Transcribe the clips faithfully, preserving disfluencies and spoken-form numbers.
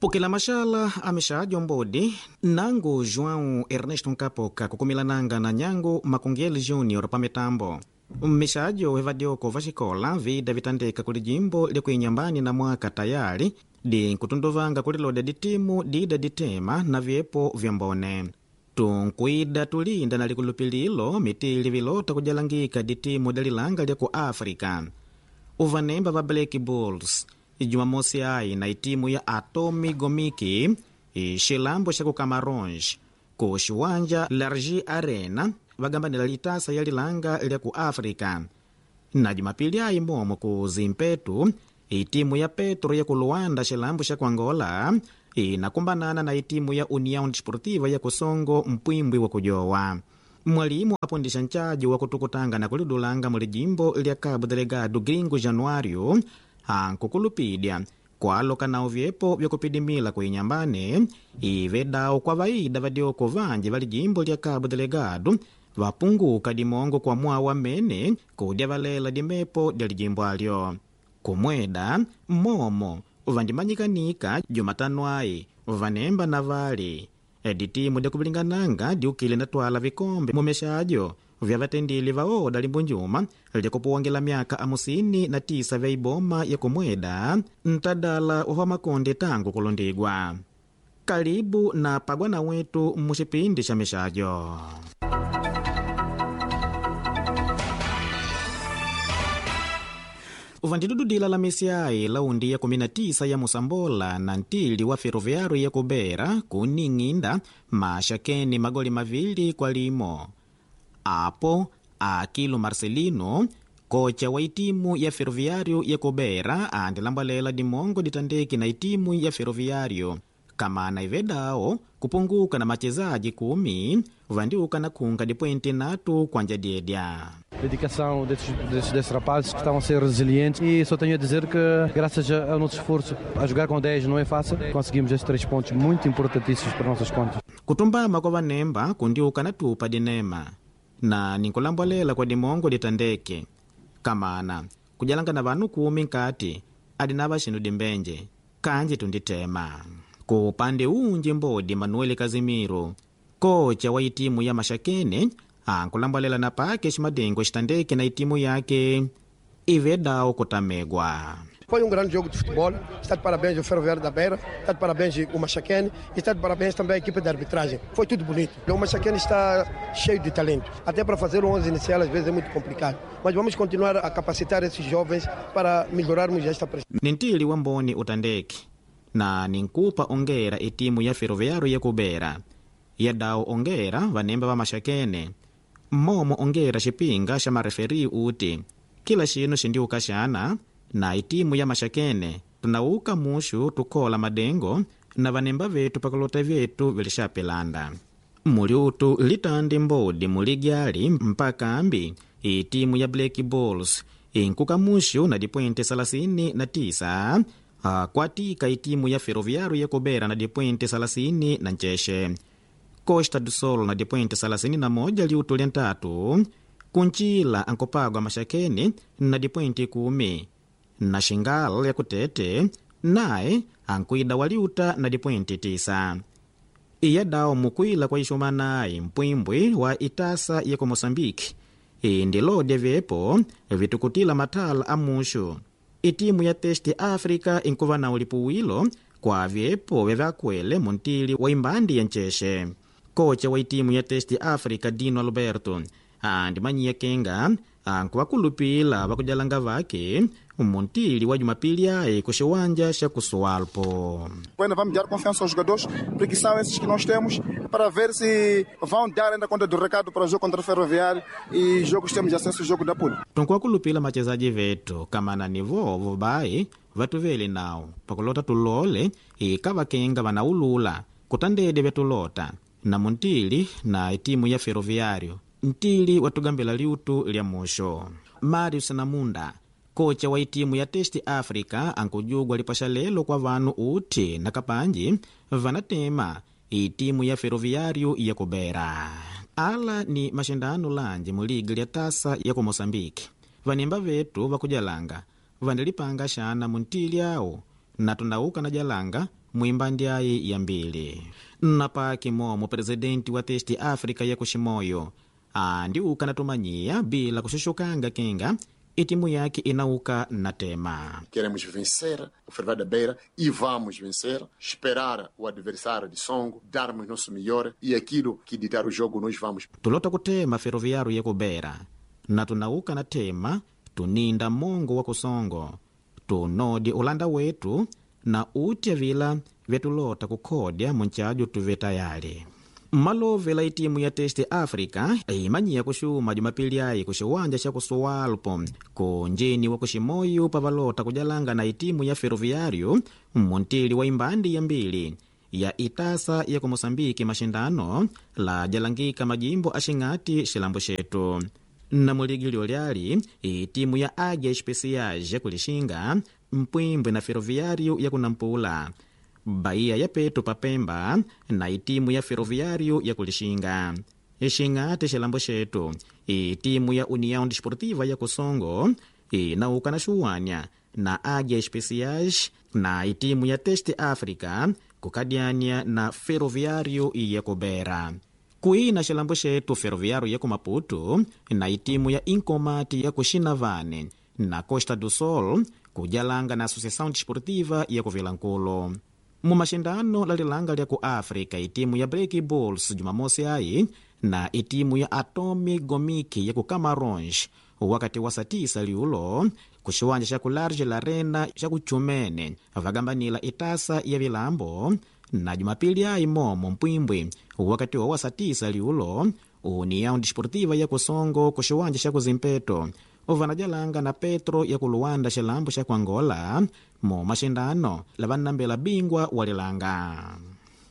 Pukila mashala amexajo mbodi nangu João Ernesto Nkapoka kukumilananga na nyangu Makungeli Júnior pa mitambo. Mmixajo wevadioko vaxikola vida vitandeka kuli jimbo lyakuinyambani na mwaka tayali dinkutunduvanga kulilodya ditimu dida ditema na vyepo vya mbone. Tunkuida tulinda na likulupililo mitili vilota kujalangika ditimu dalilanga lya ku África. Uvanemba va Black Bulls Jumamosi ayi na itimu ya Atomi Gomiki xilambo xa ku Camarões ku xiwanja Largi Arena vagambanila litasa ya lilanga lya ku África. Na Jumapili ayi momo ku Zimpetu itimu ya Petro ya ku Luanda xilambo xa ku Angola inakumbanana na itimu ya União Desportiva ya Kusongo mpwimbwi wa kujowa. Mwalimu apundisha nchaji wa kutukutanga na kulidulanga muli jimbo lya Cabo Delgado Gringo Januário ankukulupidya kwaloka nawo vyepo vyakupidimila kuinyambane ivedawo kwa vaida vadioko vanji vali jimbo lya Cabo Delgado vapunguka dimongo kwa mwawa mene kudya valela dimepo dya lijimbo alyo. Kumweda momo vandimanyikanika Jumatano ayi vanemba na vali ditimu dyakuvilingananga diukile natwala vikombe mumexajo vya vatendile vaoda limbunjuma lyakupuwangela myaka amusini na tisa vya iboma ya kumweda ntadala wa makonde tangu kulondigwa. Kalibu na pagwana wetu muxipindi xa mixajo. Vandidududila la mesiai laundi ya kumi na tisa ya Mosambola na ntili wa Ferroviário ya Kubera kuning'inda maxakeni magoli mavili kwa limo. Apo Akilo Marcelino kocha wa itimu ya Ferroviário ya Kubera andilambalela dimongo ditandeki na itimu ya Ferroviário kamana ivedawo kupunguka na machezaji kumi vandiuka na kunga dipoenti natu kwanja dyedya. Dedicação desses, desses, desses rapazes que estão a ser resilientes e só tenho a dizer que graças ao nosso esforço a jogar com dez não é fácil, conseguimos estes três pontos muito importantíssimos para nossas contas. Kutumbama kwa vanemba kundiuka na tupa dinema na ninkulambolela kwa dimongo ditandeke kamana kujalanga na vanu kumi nkati adinava xinu dimbenje kanji tunditema. Ku upande unji mbodi Manuel Kazimiro kocha wa itimu ya Maxakene ankulambalela na pake ximadengo xitandeke na itimu yake ivedawo kutamegwa. Foi um grande jogo de futebol. Está de parabéns o Ferroviário da Beira, está de parabéns o Maxaquene e está de parabéns também a equipe de arbitragem. Foi tudo bonito. O Maxaquene está cheio de talento. Até para fazer o onze inicial às vezes é muito complicado. Mas vamos continuar a capacitar esses jovens para melhorarmos esta prestação. Nintili wa mboni utandeke na ninkupa ongera itimu ya Ferroviário ya Kubera yadawo ongera vanemba va Maxakene momo ongera xipinga xa mareferi uti kila xinu xindiuka xana na itimu ya Maxakene tunauka muxu tukhola madengo na vanemba vetu pakulota vyetu vilixapelanda muliutu litandi mbodi muligyali mpaka ambi itimu ya Black Bulls inkuka muxu na dipointe salasini na tisa akwatika itimu ya Ferroviário ya Kubera na dipointe salasini na ncexe. Costa do Sol na dipointe salasini na moja liutu lya ntatu kuncila ankopagwa Maxakene na dipointe kumi na Xingal ya kutete naye ankuida waliuta na dipointe tisa. Iyadawo mukwila kwa ixumanayi mpwimbwi wa itasa ya ku Moçambique indilodya vyepo vitukutila mathala a muxu. Itimu ya Teste África inkuva na ulipuwilo kwa vyepo vyavyakwele muntili wa imbandi ya ncexe. Kocha wa itimu ya Teste África Dino Alberto andimanyiya kenga ankuvakulupila vakujalanga vake muntili wa Jumapili ayi ku xiwanja xa Kusualpo. Ainda vamos dar confiança aos jogadores, porque são esses que nós temos, para ver se vão dar ainda conta do recado para o jogo contra o Ferroviário e jogos temos acesso ao jogo da Pula. Tunkuvakulupila machezaji vetu kamana ni vovo bayi vatuvele nawo pakulota tulole ikava kenga vanaulula kutandede vyatulota na muntili na itimu ya Ferroviário ntili watugambila liutu lya muxo. Marius Namunda kocha wa itimu ya Teste África ankujugwa lipaxa lelo kwa vanu uti na kapanji vanatema itimu ya Ferroviário ya Kubera. Ala ni maxindano lanji mu liga lya tasa ya ku Moçambique. Vanemba vetu vakujalanga vandilipanga xana muntili awo na tunauka na jalanga muimbandyayi ya mbili. Napaki momo presidenti wa Teste África ya kuximoyo andiuka natumanyiya bila kuxuxukanga kinga itimu yake inauka na tema. Queremos vencer o Ferroviário da Beira e vamos vencer, esperar o adversário de Songo, darmos nosso melhor e aquilo que ditar o jogo nós vamos. Tulota kutema Ferroviário ya Beira na tunauka na tema tuninda mongo wa kusongo tunodi ulanda wetu na utya vila vyatulota kukhodya munchajo tuve tayali. Mmalovela itimu ya Teste África imanyiya kuxuma jumapili ayi kuxiwanja xa kusuwalpo ku njini wa kuximoyo pavalota kujalanga na itimu ya Ferroviário muntili wa imbandi ya mbili ya itasa ya ku Moçambique maxindano la jalangika majimbo axing'ati xilambo xetu. Na muligilio lyali itimu ya Águia Especiais ya kulixinga mpwimbwi na Ferroviário ya kunampula Bahia ya petu papemba na itimu ya Ferroviário ya kulixinga. Xing'ati xilambo xetu itimu ya União Desportiva ya Kusongo inauka na xuwanya na Águia Especiais na itimu ya Teste África kukadyanya na Ferroviário ya Kubera. Kuina xilambo xetu Ferroviário ya ku Maputo na itimu ya Inkomati ya kuxinavane na Costa do Sol kujalanga na Associação Desportiva ya kuvilankulu. Mu maxindano la lilanga lya ku África itimu ya Black Bulls jumamosi ayi na itimu ya Atomi Gomiki ya ku Camarões wakati wa saa tisa liulo ku xiwanja xa ku Large Larena xa ku Chumene vagambanila itasa ya vilambo na jumapili ayi momo mpwimbwi wakati wa saa tisa liulo União Desportiva ya Kusongo ku xiwanja xa ku Zimpeto vanajalanga na Petro ya ku Luanda xilambo xa ku Angola mu maxindano lavanambela bingwa wa lilanga.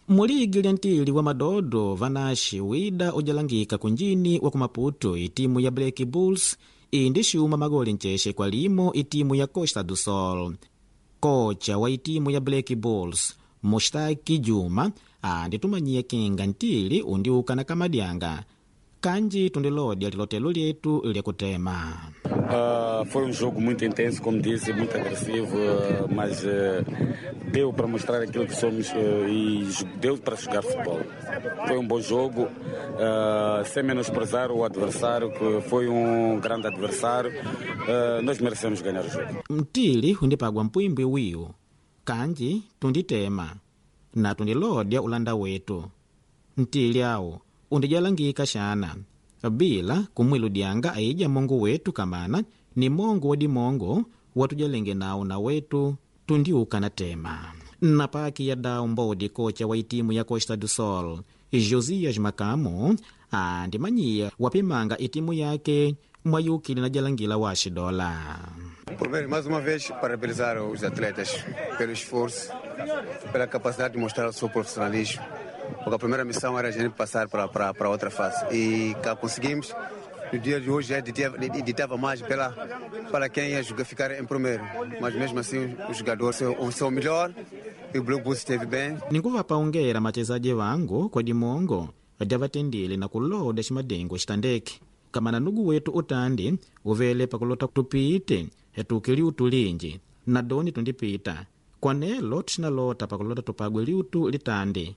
Muligi lya ntili wa madodo vanaxi wida ujalangika kunjini wa ku Maputo itimu ya Black Bulls indi xuma magoli ncexe kwa limo itimu ya Costa do Sol. Kocha wa itimu ya Black Bulls Mushtaki Juma anditumanyiye kinga ntili undiuka na kamadyanga kanji tundilodya lilotelo lyetu lyakutema. Uh, foi um jogo muito intenso, como disse, muito agressivo, uh, mas uh, deu para mostrar aquilo que somos uh, e deu para jogar futebol. Foi um bom jogo, uh, sem menosprezar o adversário, que foi um grande adversário. Uh, nós merecemos ganhar o jogo. Mtili undipagwa mpwimbwi wiwu kanji tunditema na tundilodya ulanda wetu ntili awu undijalangika xana bila kumwiludyanga aija mongo wetu kamana ni mongo wa dimongo watujalenge nawo na wetu tundiuka na tema. Na paki ya dau mbodi kocha wa itimu ya Costa do Sol Josias Makamo andimanyiya wapimanga itimu yake mwayukile na jalangila wa xidola. Primeiro, mais uma vez, parabenizar os atletas pelo esforço, pela capacidade de mostrar o seu profissionalismo. Porque a primeira missão era a gente passar para, para, para outra fase. E cá conseguimos. No dia de hoje já ditava mais pela, para quem ia jogar, ficar em primeiro. Mas mesmo assim, os jogadores são, são o melhor e o Blue Bulls esteve bem. Ninkuvapaongera machezaji vangu kwa dimongo dyavatendile na kuloda ximadengo xitandeke kamana nugu wetu utandi uvele pakulota tupite hetuke liutu linji na doni tundipita kwanelo tuxinalota pakulota tupagwe liutu litandi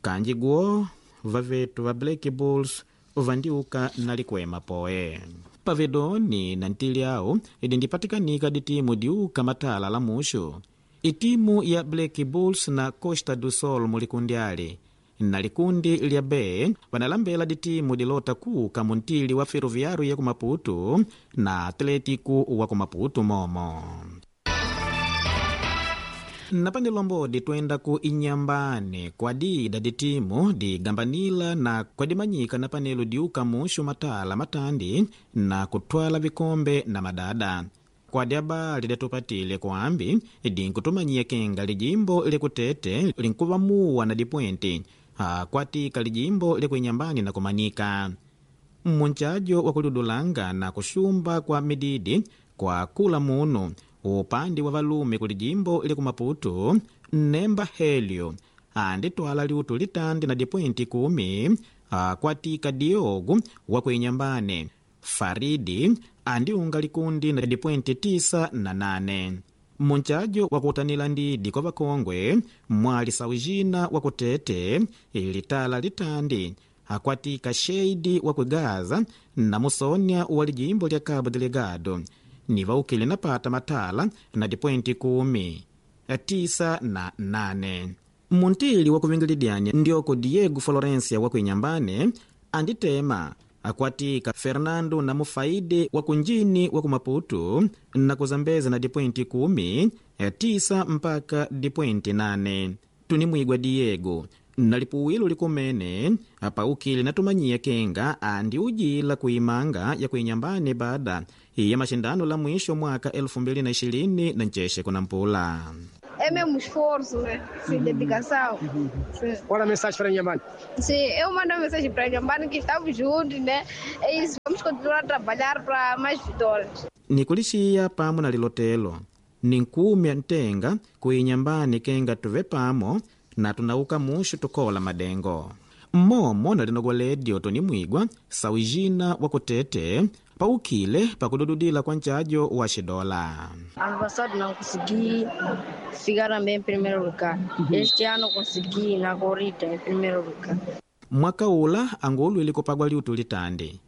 kanji guo vavetu va Black Bulls vandiuka na likwema poe. Pavedoni na ntili awu idindipatikanika ditimu diuka matala la muxu itimu ya Black Bulls na Costa do Sol mulikundi ali na likundi lya B vanalambela ditimu dilota kuka muntili wa Ferroviário ya ku Maputo na Atlético wa ku Maputo momo. Napandilombodi twenda ku Inyambane kwadida ditimu digambanila na kwadimanyika na panelo diuka muxu matala matandi na kutwala vikombe na madada kwadi abali dyatupatile kuambi dinkutumanyia kinga lijimbo lyakutete linkuvamuwa na dipwenti akwatika lijimbo lyakuinyambani na kumanika munchajo wa kuludulanga na kuxumba kwa mididi kwa kula munu upandi wa valume kuli jimbo lya kumaputu Nemba Helio anditwala liutu litandi na dipointi kumi akwatika Diogo wa kuinyambane Faridi andiunga likundi na dipointi tisa na nane. Munchajo wa kutanila ndidi kwa vakongwe mwali saujina wa kutete litala litandi akwatika sheidi wa kugaza na musonya wa lijimbo lya Cabo Delgado ni vaukile napata matala na dipointi kumi tisa na nane. Muntili wa kuvingilidyanya ndyoko Diego Florencia wa kuinyambane anditema akwatika Fernando na Mufaide wa kunjini wa kumaputu na kuzambeza na dipointi kumi tisa mpaka dipointi nane. Tunimwigwa Diego na lipuwilo likumene apaukile natumanyiya kenga andi ujila kuimanga ya kuinyambane baada ya mashindano la mwisho mwaka elfu mbili na ishirini na ncheshe kuna mpula. É mesmo esforço, né? Sim, dedicação. Sim. Qual a mensagem para Inhambane? Sim, eu mando uma mensagem para Inhambane que estamos juntos, né? É isso, vamos continuar a trabalhar para mais vitórias. Nikulixiya pamo na lilotelo ninkumya ntenga kuinyambani kenga tuve pamo na tunauka mushu tukola madengo mmomo na linogwa tonimwigwa saujina wa kutete paukile pakudududila kwa nchajo wa xidola. Ano passado não consegui ficar também em primeiro lugar. Este ano consegui na corrida em primeiro lugar. Mwaka ula angulwile kupagwa liutu litandi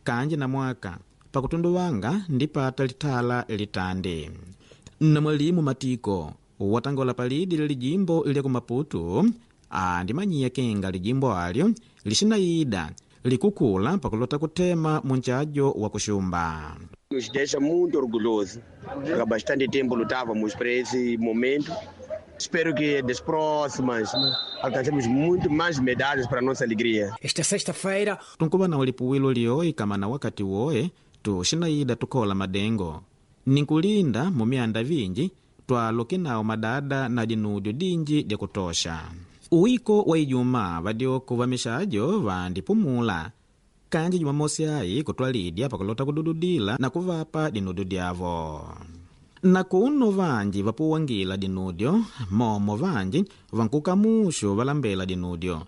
kanji na mwaka pakutunduwanga ndipata litala litandi na mwalimu Matiko watangola palidi la lijimbo lya kumaputu andimanyiya kenga lijimbo alyo lixinayida likukula pakulota kutema munchajo wa kuxumba. Nos deixa muito orgulhoso. Há bastante tempo lutávamos para esse momento. Espero que das próximas alcancemos muito mais medalhas para a nossa alegria. Esta sexta-feira, tunkuva na ulipuwilo lioyi kama na wakati woye tuxinayida tukola madengo ninkulinda mumyanda vinji twaloke nawo madada na dinudio dinji dya kutosha. Uwiko wa Ijumaa vadyoko va mixajo vandipumula kanji Jumamosi ayi kutwalidya pakulota kudududila na kuvapa dinudio dyavo. Na kuno vanji vapuwangila dinudio momo vanji vankuka muxu valambela dinudio.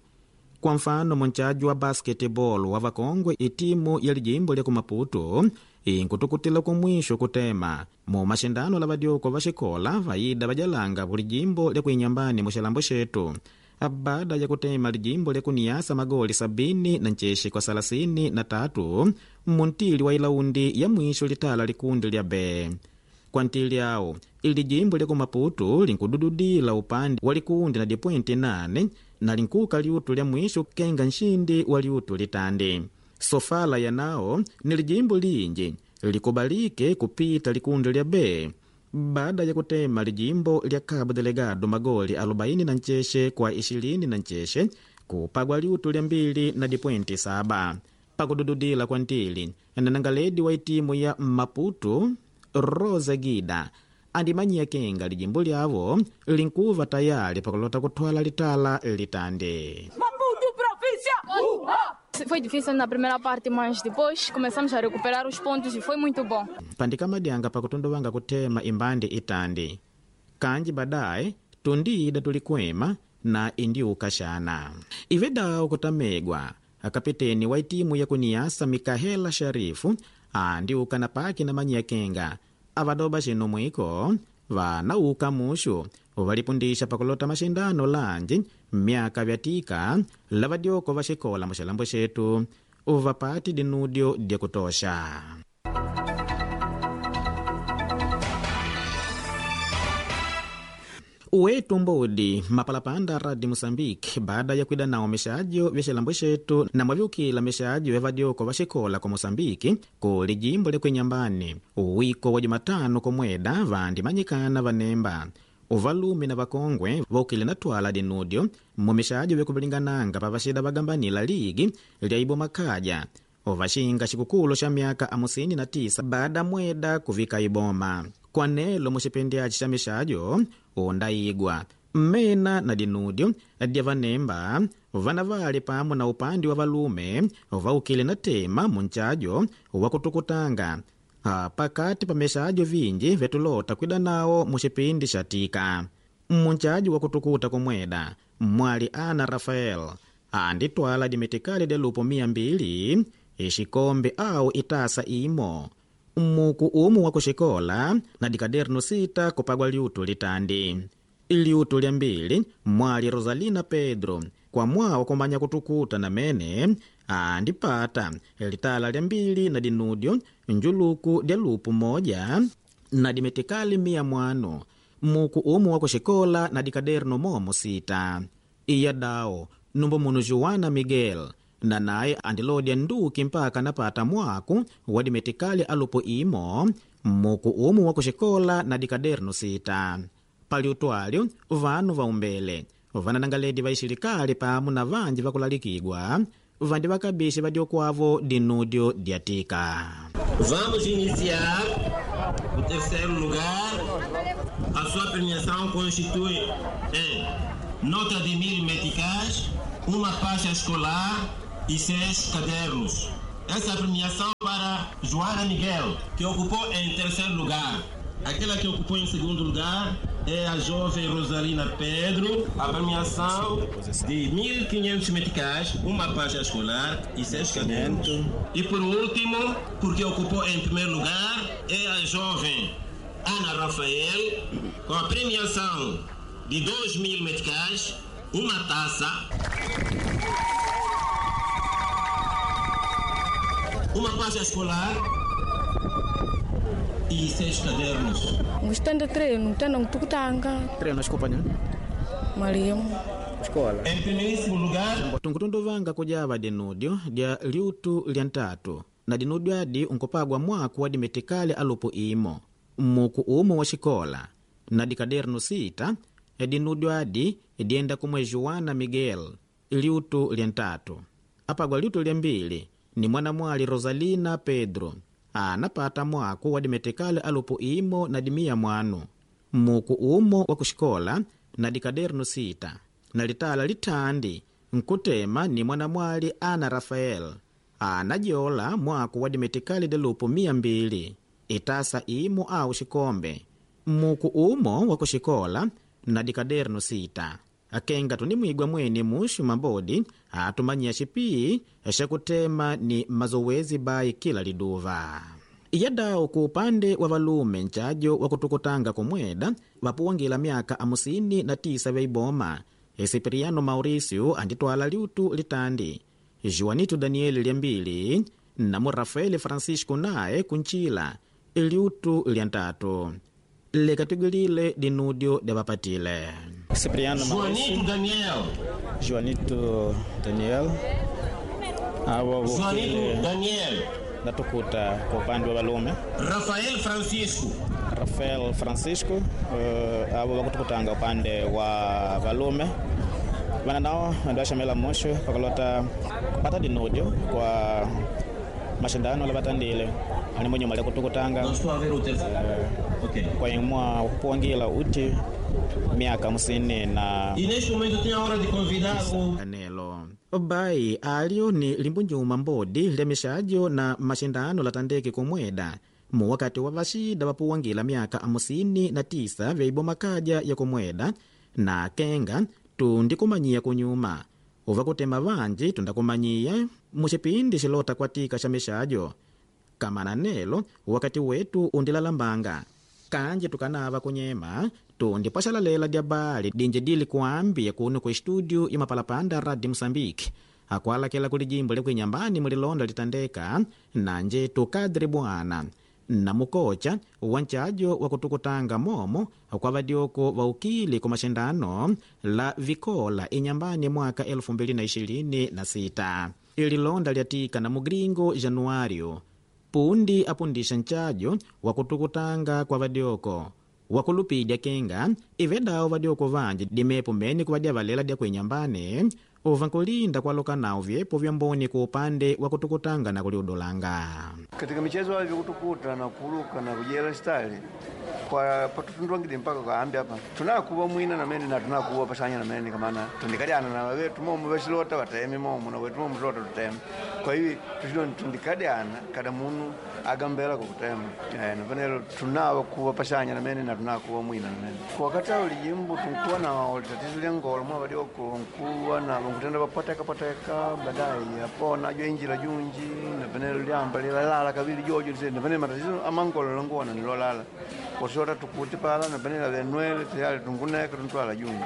Kwa mfano munchajo wa basketball wa vakongwe itimu ya lijimbo lya kumaputu inkutukutila kumwisho kutema mu maxindano la vadyoko va xikola vayida vajalanga kulijimbo lya kuinyambani muxilambo xetu baada ya kutema lijimbo lya kuniyasa magoli sabini na ncexe kwa salasini na tatu muntili wa ilaundi ya mwisho litala likundi lya B. Kwa ntili awo ili jimbo lya kumaputu linkudududila upande wa likundi na dipointi nane na linkuka liutu lya mwisho kenga nxindi wa liutu litandi. Sofala yanao ni lijimbo linji likubalike kupita likundi lya B baada ya kutema lijimbo lya Cabo Delgado magoli arobaini na ncheshe kwa ishirini na ncheshe kupagwa liutu lya mbili na dipointi saba. Pakudududila kwa ntili nanangaledi wa itimu ya Maputo Rosa Gida andimanyiya kenga lijimbo lyavo linkuva tayali pakulota kutwala litala litandi. Maputo província! Uh, ah! Foi difícil na primeira parte, mas depois começamos a recuperar os pontos e foi muito bom. Pandikamadyanga pakutunduvanga kutema imbandi itandi kanji badaye tundiida tulikwema na indiuka xana ivedawo kutamegwa akapiteni wa itimu ya kuniyasa Mikahela Sharifu andiuka na paki na manyiya kenga avadoba xinu mwiko vanauka muxu valipundisha pakulota maxindano lanji myaka vyatika la vadyoko va xikola muxilambo xetu vapati dinudio dya kutosha. Wetu mbodi mapalapanda radi Moçambique baada ya kwida nawo mixajo vya xilambo xetu na mwavyukila mixajo ya vadyoko va xikola ku Moçambique ku lijimbo lya kuinyambani uwiko wa Jumatano komweda vandimanyikana vanemba uvalume na vakongwe vaukile na twala dinudio mumixajo vyakuvilingananga pa vaxida vagambanila ligi lya iboma kaja ovaxinga xikukulu xa myaka amusini na tisa baada mweda kuvika iboma kwanelo muxipindi aci xa mixajo undayigwa mmena na dinudio dya vanemba vana vali pamo na upandi wa valume vaukile na tema munchajo wa kutukutanga pakati pa mixajo vinji vyatulota kwida nawo muxipindi xa tika. Munchajo wa kutukuta kumweda mwali Ana Rafael anditwala dimitikali dya lupo mia mbili ixikombe au itasa imo Muku umu wa kuxikola na dikaderno sita kupagwa liutu litandi. Liutu lya mbili mwali Rosalina Pedro kwa mwawo kumanya kutukuta na mene andipata litala lya mbili na dinudyo njuluku dya lupu moja na dimetikali mia mwanu muku umu wa kuxikola na dikaderno momo sita. Iya dawo numbo munu Juana Miguel na naye andilodya nduki mpaka napata mwaku wa dimetikali alupu imo muku umu wa kuxikola na dikaderno sita. Pali utwalyo vanu vaumbele vananangaledi va ixilikali pamu na vanji vakulalikigwa vandi vakabixi vadyokwavo dinudyo dyatika. Vamos iniciar o terceiro lugar. A sua premiação constitui em nota de mil meticais, uma faixa escolar e seis cadernos. Essa premiação para Joana Miguel, que ocupou em terceiro lugar. Aquela que ocupou em segundo lugar é a jovem Rosalina Pedro. A premiação de mil e quinhentos meticais, uma faixa escolar e seis cadernos. E por último, porque ocupou em primeiro lugar, é a jovem Ana Rafael, com a premiação de dois mil meticais, uma taça, uma faixa escolar e seis cadernos. Gostando de treino, tendo tukutanga. Treino desculpa, né? Mwalimu. Escola. Em primeiríssimo lugar, tunkutunduvanga kujava dinudyo dya liutu lya ntatu na dinudyo adi unkupagwa mwaku wa dimetikali alupu imo muku umu wa xikola na dikaderno sita dinudyo adi dienda kumwe Juana Miguel liutu lya ntatu apagwa liutu lya mbili ni mwanamwali Rosalina Pedro anapata mwaku wa dimetikali alupu imo na dimia mwanu muku umo wa kuxikola na dikaderno sita na litala litandi nkutema ni mwanamwali Ana Rafael anajola mwaku wa dimetikali delupu mia mbili itasa imo au xikombe muku umo wa kuxikola na dikaderno sita. Akenga tunimwigwa mwene muxu mabodi atumanyia xipii xakutema ni mazowezi bayi kila liduva. Iyadawo ku upande wa valume ncajo wa kutukutanga kumweda vapuwangila myaka amusini na tisa veiboma Cipriano Mauricio anditwala liutu litandi, Juanito Daniel lya mbili na mu Rafael Francisco naye kuncila liutu lya ntatu. Lekatigwilile dinudyo dya vapatile. Cipriano Mauricio, Juanito Daniel, Juanito Daniel awa Juanito vukile Daniel, natukuta kwa upande wa valume Rafael Francisco, Rafael Francisco uh, avo vakutukutanga upande wa valume vana nao andi vaxamela moxo pakalota kupata dinudyo kwa maxindano la vatandile ani munyuma lya kutukutanga Não estou a ver o terceiro. Ok. kwa imwa kupuwangila uti miaka hamsini na E neste momento tenho a hora de convidar o Anelo bai alyo ni limbunjuma mbodi lya mixajo na maxindano latandeke kumweda muwakati wa vaxida vapuwangila myaka amusini na tisa vyaiboma kaja ya kumweda na kenga tundikumanyiya kunyuma uva kutema vanji tundakumanyiya muxipindi xilota kwatika xa mixajo kamana nelo wakati wetu undilalambanga kanji tukanava kunyema tundipwaxalalela dya bali dinji dili kuambiya kuno ku estúdio ya mapalapanda Radio Moçambique akualakela kuli jimbo lyakuinyambani mulilonda litandeka nanje tukadre bwana na mukocha wa ncajo wa kutukutanga momo kwa vadioko va ukili ku maxindano la vikola inyambani mwaka elfu mbili na ishirini na sita. Ililonda lyatika na mugringo Januário pundi apundisha ncajo wa kutukutanga kwa vadioko wakulupidya kenga ivedawo vadioko vanji dimepo mene kuvadya valela dya kuinyambani uva nkulinda kwaloka nawo vyepo vya mboni ku upande wa kutukutanga na kuliudulanga. Katika michezo hayo kutukuta na kuruka na kujela style kwa patutundwangide mpaka kaambi hapa tunakuwa mwina na mene na tunakuwa pasanya na mene kamana tundikaliana na wetu momo vesilota vatemi momo na wetu momo tulota tutemi Kwa hiyo tuchilo tundikadiana kada munu agambela kukutema eh, napanelo tunawa kuwa pashanya namene na tunawa kuwa mwina namene kwa wakati awo lijimbo tunkuwa na tatizo lya ngolo mwa badioko nkuwa na nkutenda papoteka poteka baadaye apona jo injila junji napanelo lyamba lilalala kabili jojo lise napanelo matatizo amangolo languona nilolala kwasota tukuti pala napanelo venwele tayari tunguneka tuntwala junji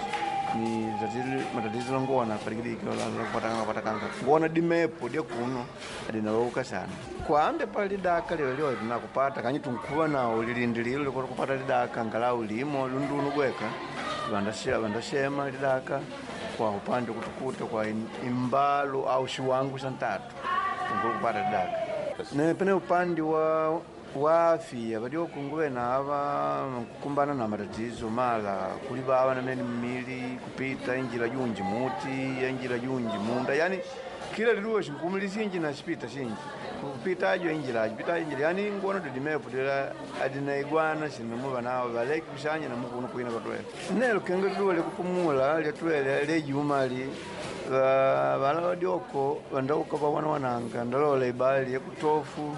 ni tatizo matatizo languona palikidiki patakanga patakanga nguona dimepo dya kuno adinawauka sana kwambe pali lidaka lilo lyo tunakupata kanyi tunkuva nawo lilindililo likoti kupata lidaka ngalau limo lundunu gweka vandashema vandashema lidaka kwa upande kutukuta kwa im- imbalo au shiwangu sha ntatu tunkulu kupata lidaka ne pene upande wa wa afya vadiokunguve nava kukumbana na matatizo mala kuli vava namene mmili kupita injila junji muti injila junji munda yani kila liduwa xinkumu lisinji na xipita xinji kupita ajo injila ajo pita injila yani ngono didimepo dila adinaigwana xinamuva nawo valeki kuxanya namukunu kuina katwele nelo kenga liduwa likupumula lyatwele lyejumali vala vadioko vandauka vawana wananga ndalola ibali yakutofu.